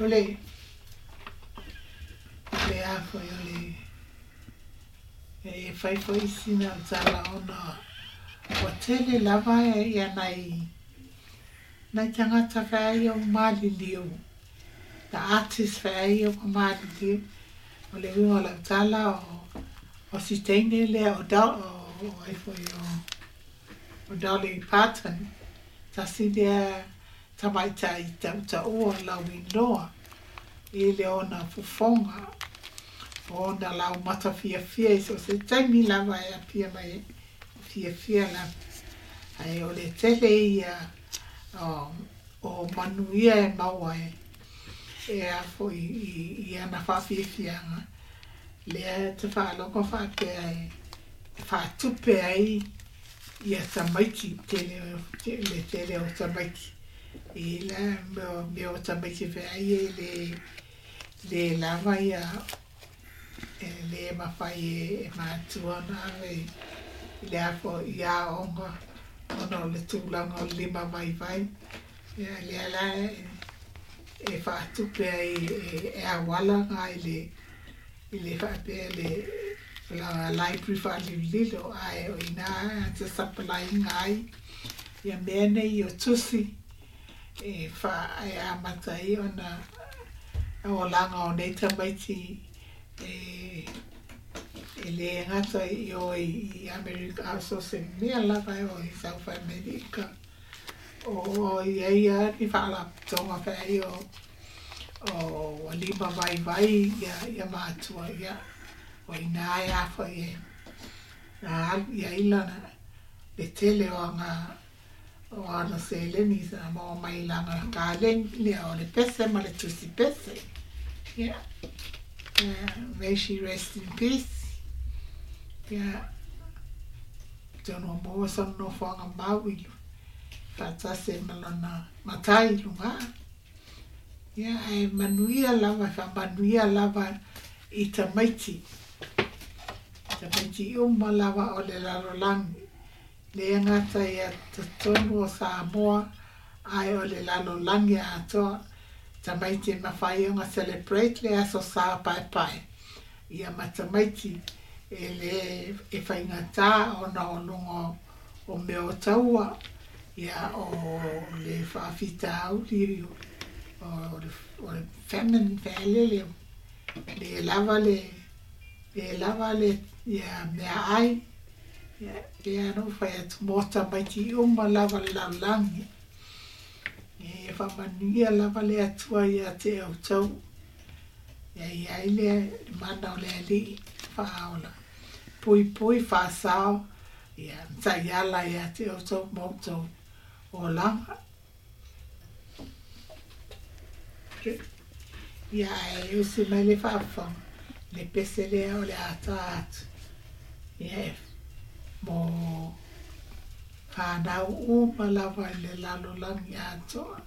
O le le a foi o le e fai foi sina tala ona ua tele lava ia nai nai tagata feai o maliliu, the artist feai o maliliu. O le uiga o lau tala o si teine lea o o ai foi o Dolly Parton, tasi lea tamaitai tautaua lauinoa i le ona fofoga o ona laumata fiafia i so o se taimi lava e apia mai ai, fiafia lava. Ae o le tele ia o manuia e maua e e a foi i ana faafiafiaga lea e te faalogo faapea e faatupe ai ia tamaiti tele le tele o tamaiti i la mea o tamaiti feai e le le lava ia e le mafai e matua ona ave i le a foi i aoga ona o le tulaga o le lima vaivai. Ia lea la e faatupe ai e auala na i le faapea le la library faalilolilo ae o ina te supply-ina ai ia mea nei o tusi e fa e amata ai ona olaga o nei tamaiti e e le gata i o i Amerika a so se mea lava e o i South America o i ai ia ni faalapotopotoga feai o ua lima vaivai ia ia matua ia o ina e a foi e alu i ai lana le tele o aga o ana seleni sa maua mai lana kaleni lea o le pese ma le tusi pese. Ia, may she rest in peace. Ia, atonu ua maua sona nofoaga mau i faatasi ai ma lona matai i luga. Ia, ae manuia lava, faamanuia lava i tamaiti. Tamaiti uma lava o le lalolagi. Le gata ia totonu o Samoa, ae o le lalolagi atoa. Tamaiti e mafai ona celebrate le aso Sa paepae. Ia ma tamaiti e le e faigata ona o luga o mea o taua, ia o le faafitauli o le famine fealele le lava le le lava le ia meaai. Ia pei lava ona ou fai atu mo tamaiti uma lava le lalolagi. Ia faamanuia lava le Atua ia te outou. Ia i ai le mana o le Alii faaola. Puipui faasao ia taiala ia te outou ma outou olaga. Ia ae usi mai le faafofoga le pese lea o le a ta atu. Ia e mo whanau uma lava i le lalolagi atoa.